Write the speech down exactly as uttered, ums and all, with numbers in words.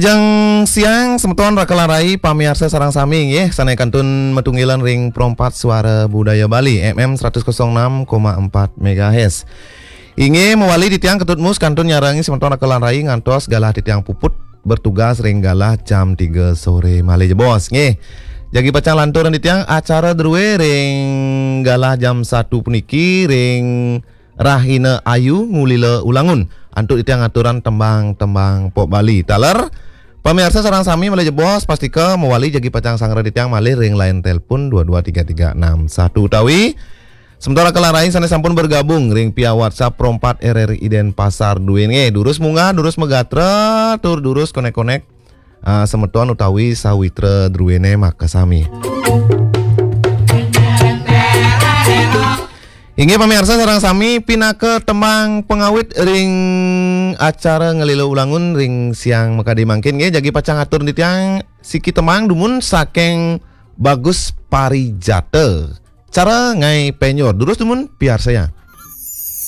Jeng siang semeton raka lan rai pamiarsa sareng sami nggih, sane kantun matunggilan ring Pro empat Suara Budaya Bali M M seratus kosong enam koma empat megahertz. Inggih mawali titiang Ketut Mus kantun nyarengin semeton raka lan rai ngantos galah titiang puput bertugas ring galah jam tiga sore malih jebos nggih. Jagi pacang lantur titiang acara drue ring galah jam satu puniki ring Rahina Ayu Ngulila Ulangun. Antuk titiang aturang tembang-tembang pop Bali. Taler pamiarsa sareng sami malih jebos pastika mawali jagi pacang sareng titiang malih ring line telepon dua dua tiga tiga enam satu utawi semeton raka lan rai sane sampun bergabung ring via WhatsApp Pro empat R R I Denpasar duene. Durus munggah, durus magatra, tur durus konek-konek ah, semeton utawi sawitra druene makasami. Inggih pamiarsa sareng sami, pinaka tembang pangawit ring acara Ngelila Ulangun ring siang makadi mangkin nggih, jagi pacang atur titiang siki tembang dumun saking Bagus Parijata. Cara ngae penyor. Durus dumun piarsayang.